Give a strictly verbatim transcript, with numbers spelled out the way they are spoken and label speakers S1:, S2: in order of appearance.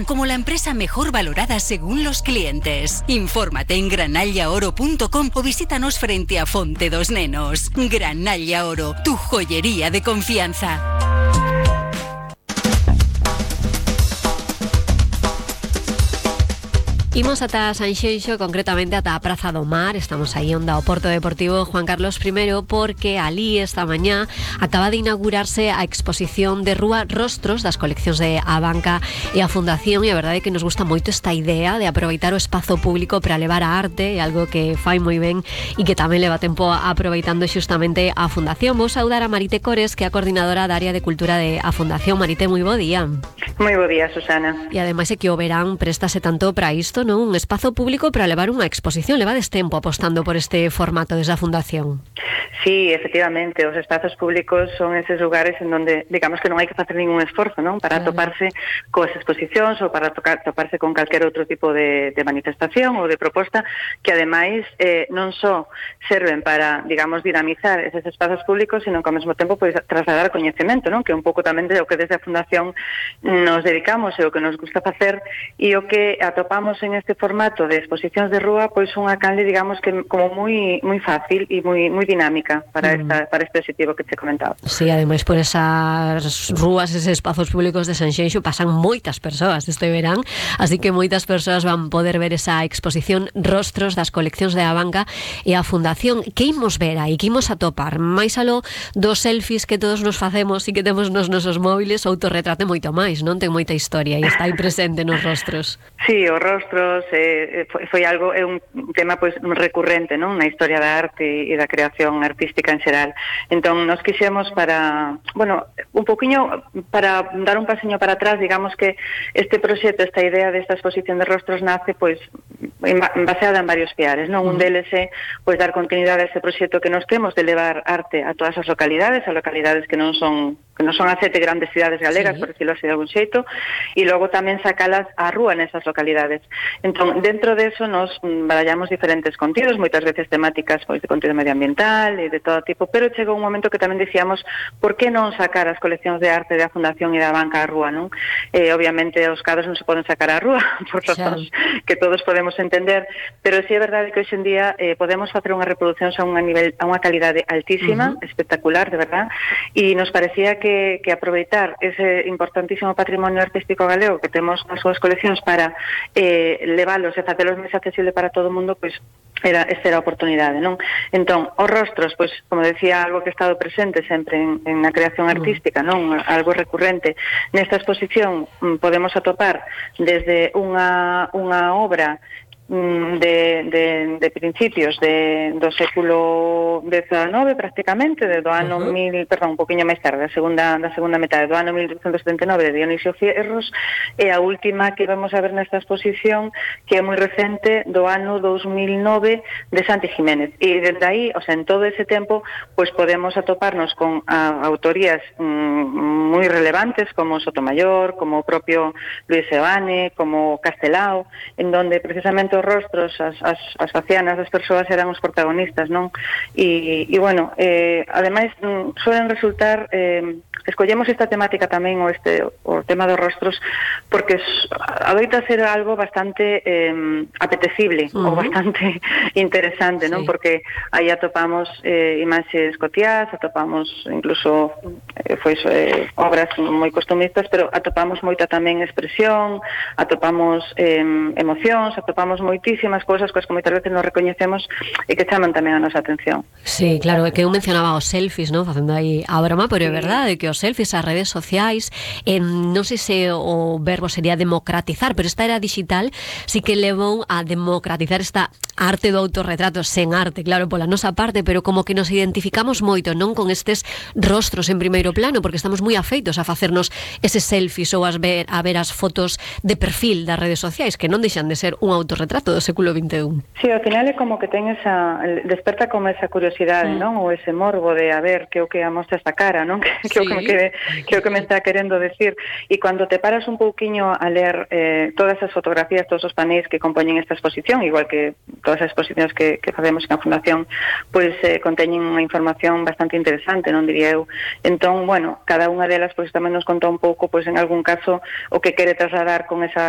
S1: valoran como la empresa mejor valorada según los clientes. Infórmate en granalla oro punto com o visítanos frente a Fonte dos Nenos. Granalla Oro, tu joyería de confianza.
S2: Imos ata Sanxenxo, concretamente ata a Praza do Mar. Estamos aí onde o Porto Deportivo Juan Carlos primero, porque alí esta mañá acaba de inaugurarse a exposición de rúa Rostros das coleccións de Abanca e a Fundación, e a verdade é que nos gusta moito esta idea de aproveitar o espazo público para levar a arte, algo que fai moi ben e que tamén leva tempo aproveitando xustamente a Fundación. Vou saudar a Marite Cores, que é a coordinadora da área de cultura de a Fundación. Marite, moi bo día.
S3: Moi bo día, Susana.
S2: E ademais é que o verán préstase tanto para isto, non? Un espazo público para levar unha exposición. Levades tempo apostando por este formato desde a Fundación.
S3: Sí, efectivamente, os espazos públicos son eses lugares en donde, digamos que non hai que facer ningún esforzo, non? Para claro. toparse coas exposicións ou para tocar, toparse con calquer outro tipo de, de manifestación ou de proposta que ademais eh, non só serven para, digamos, dinamizar eses espazos públicos, sino que ao mesmo tempo pois, trasladar coñecemento, non? Que un pouco tamén de o que desde a Fundación nos dedicamos e o que nos gusta facer, e o que atopamos en este formato de exposicións de rúa, pois unha canle, digamos, que como moi moi fácil e moi moi dinámica para esta mm. para este objetivo que te comentaba.
S2: Sí, ademais por esas rúas, eses espazos públicos de Sanxenxo pasan moitas persoas este verán, así que moitas persoas van poder ver esa exposición Rostros das coleccións de Abanca e a Fundación. Que imos ver aí? Que imos atopar? Mais aló dos selfies que todos nos facemos e que temos nos nosos móviles, o autorretrato moito máis, non? Ten moita historia e está aí presente nos rostros.
S3: Sí, os rostros eh, foi, foi algo, é un tema pois recurrente, non? Na historia da arte e da creación artística en xeral. Entón, nos quixemos para, bueno, un poquinho para dar un pasiño para atrás, digamos que este proxecto, esta idea desta exposición de rostros nace pois baseada en varios piares, non? Un deles é pois dar continuidade a ese proxecto que nos temos de levar arte a todas as localidades, a localidades que non son que non son as sete grandes cidades galegas, sí. por decirlo así de algún xeito, e logo tamén sacalas á rúa nesas localidades. Entón, dentro de eso nos barallamos diferentes contidos, moitas veces temáticas pois de contido medioambiental e de todo tipo, pero chegou un momento que tamén dicíamos, por que non sacar as coleccións de arte da Fundación e da Banca á rúa, non? Eh, obviamente os cadros non se poden sacar á rúa, por razóns que todos podemos entender, pero sí é verdade que hoxe en día eh, podemos facer unha reproducción a unha nivel a unha calidade altísima, uh-huh. espectacular, de verdad, e nos parecía que, que aproveitar ese importantísimo patrimonio artístico galego que temos nas súas coleccións para eh, leválos e facelos máis accesible para todo o mundo, pois era esta era a oportunidade, non? Entón, os rostros, pois, como decía, algo que ha estado presente sempre en, en a creación artística, non? Algo recurrente. Nesta exposición podemos atopar desde unha, unha obra De, de, de principios de, do século dezenove prácticamente, de do ano uh-huh. mil, perdón, un poquinho máis tarde, da segunda, da segunda metade do ano mil oitocentos setenta e nove de Dionisio Fierros, e a última que vamos a ver nesta exposición, que é moi recente, do ano dos mil nove de Santi Jiménez. E desde aí, o sea, en todo ese tempo, pois podemos atoparnos con a, autorías mm, moi relevantes como Sotomayor, como o propio Luis Seoane, como Castelao, en donde precisamente os rostros, as, as, as facianas das persoas eran os protagonistas, non? E, e bueno, eh, ademais, suelen resultar, eh, escollemos esta temática tamén, o este o tema dos rostros, porque adoita ser algo bastante eh, apetecible, uh-huh. ou bastante interesante, non? Sí. Porque aí atopamos eh, imaxes cotiás, atopamos incluso eh, foi, eh, obras moi costumistas, pero atopamos moita tamén expresión, atopamos eh, emocións, atopamos moitísimas cousas coas que moitas veces nos recoñecemos e que chaman tamén a nosa atención.
S2: Sí, claro, é que eu mencionaba os selfies, non? Facendo aí a broma, pero é verdade que os selfies, as redes sociais, eh, non sei se o verbo sería democratizar, pero esta era digital, sí que levou a democratizar esta arte do autorretrato, sen arte, claro, pola nosa parte, pero como que nos identificamos moito, non? Con estes rostros en primeiro plano, porque estamos moi afeitos a facernos eses selfies ou as ver, a ver as fotos de perfil das redes sociais, que non deixan de ser un autorretrato do século vinte e un.
S3: Sí, ao final é como que ten esa, desperta como esa curiosidade, mm. non? Ou ese morbo de a ver que o que amostra esta cara, non? Que, que, sí. o que, me quede, que o que me está querendo decir. E cando te paras un pouquiño a ler eh, todas as fotografías, todos os panéis que compoñen esta exposición, igual que todas as exposicións que, que facemos na Fundación, pois eh, conteñen unha información bastante interesante, non diría eu. Entón, bueno, cada unha delas pois tamén nos conta un pouco, pois en algún caso, o que quere trasladar con esa